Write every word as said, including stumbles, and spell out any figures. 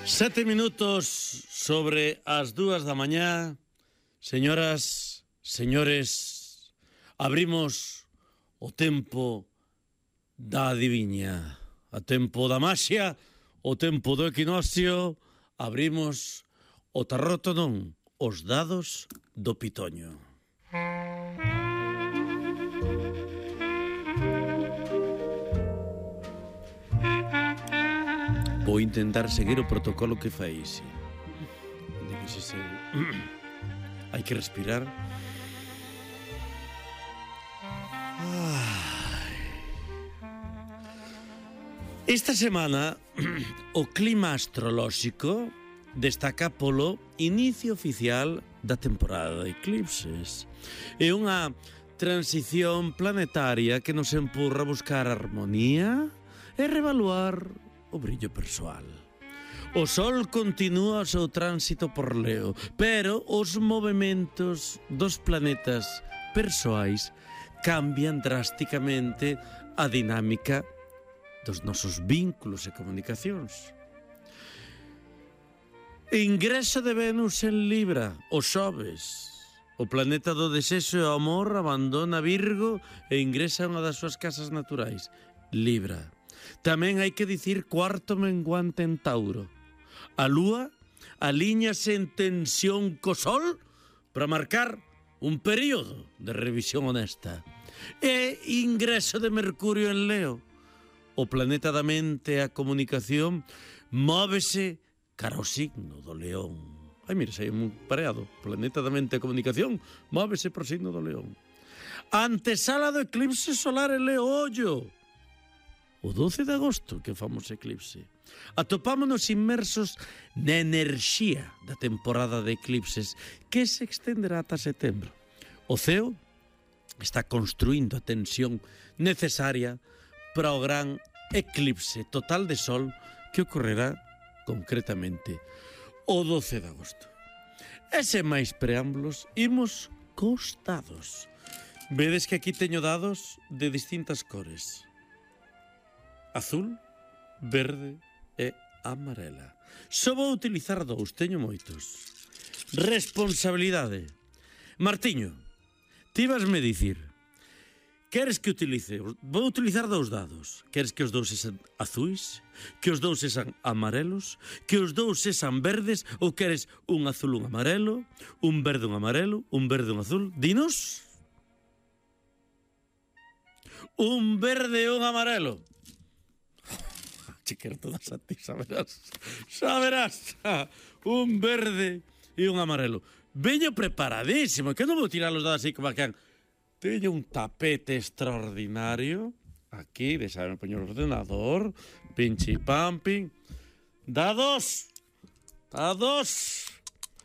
Sete minutos sobre as dúas da mañá. Señoras, señores, abrimos o tempo da adiviña, a tempo da maxia, o tempo do equinoccio. Abrimos o tarroto, non, os dados do pitoño. Vou intentar seguir o protocolo que fai, sí. De que se se... Hai que respirar. Ai. Esta semana o clima astrolóxico destaca polo inicio oficial da temporada de eclipses. É unha transición planetaria que nos empurra a buscar armonía e revaluar o brillo persoal. O Sol continúa o seu tránsito por Leo, pero os movementos dos planetas persoais cambian drásticamente a dinámica dos nosos vínculos e comunicacións. Ingreso de Venus en Libra, o xoves. O planeta do desexo e o amor abandona Virgo e ingresa a unha das súas casas naturais, Libra. Tamén hai que dicir cuarto menguante en Tauro. A Lúa alíñase en tensión co Sol para marcar un período de revisión honesta. E ingreso de Mercurio en Leo. O planeta da mente e a comunicación móvese cara ao signo do León. Ai, mira, sei un pareado. O planeta da mente e a comunicación móvese pro signo do León. Antesala do eclipse solar en Leo, ollo. O doce de agosto que famos eclipse. Atopámonos inmersos na enerxía da temporada de eclipses que se extenderá ata setembro. O ceo está construindo a tensión necesaria para o gran eclipse total de Sol que ocorrerá concretamente o doce de agosto. E sen máis preámbulos, imos cos dados. Vedes que aquí teño dados de distintas cores: azul, verde e amarela. Só vou utilizar dous, teño moitos. Responsabilidade. Martiño, ti vasme dicir, queres que utilice? Vou utilizar dous dados. Queres que os dous sexan azuis? Que os dous sexan amarelos? Que os dous sexan verdes? Ou queres un azul, un amarelo? Un verde, un amarelo? Un verde, un azul? Dinos. Un verde e un amarelo. Chiquero todas a ti, saberás. Saberás. Un verde e un amarelo. Veño preparadísimo, que non vou tirar los dados así como que han. Teño un tapete extraordinario. Aquí, deixame poñer o ordenador. Pinchi pamping. Dados. Dados.